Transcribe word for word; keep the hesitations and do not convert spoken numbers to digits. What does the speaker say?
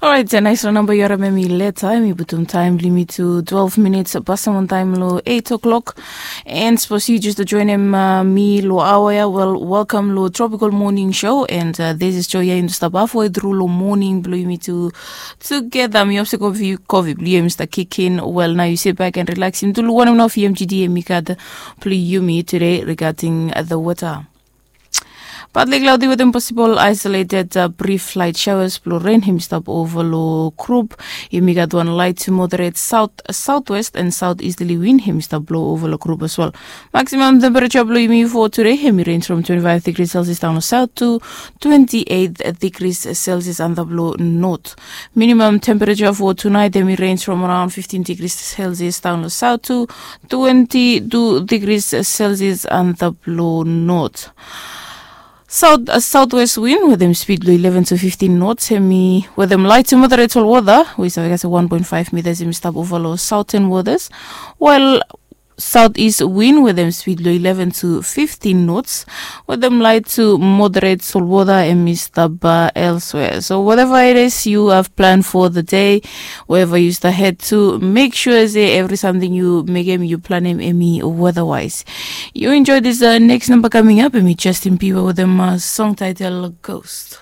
Orait, nais long namba yu harim em i leta, em i putum taem blong yumi tu twelve minits pasim on taem long eight o'clock. And sapos yu just joinim mi long aoa ya, wel, welkam long Tropical Morning Show. And this is Joya, yumi stap hafwe tru long moning blong yumi tu tugeta. Mi hop se kofi blong yu em i stap kikin. Wel, nao yu sit back and relax. Yumi tu long wanem nao fi M G D em i gat blong yumi tude regarding the weather. Partly cloudy wetem possible isolated brief light showers blong ren hem i stap ova long grup. Yumi gat wan light to moderate south southwest and southeasterly wind hem i stap blong ova long grup as well. Maximum temperature blong yumi for today hem i range from twenty-five degrees Celsius down long south to twenty-eight degrees Celsius antap long north. Minimum temperature for tonight hem i range from around fifteen degrees Celsius down long south to twenty-two degrees Celsius antap long north. South southwest wind wetem speed blong eleven to fifteen knots hem i wetem light to moderate solwota we i save gat se one point five meters hem i stap ova long southern waters. While southeast wind wetem speed blong eleven to fifteen knots wetem light to moderate solwota hem i stap elsewhere. So whatever it is you have planned for the day, wherever you start head to, make sure se evri samting yu mekem yu planem hem i weatherwise. You enjoy this uh, next number coming up, and me Justin Bieber with them uh, song title Ghost.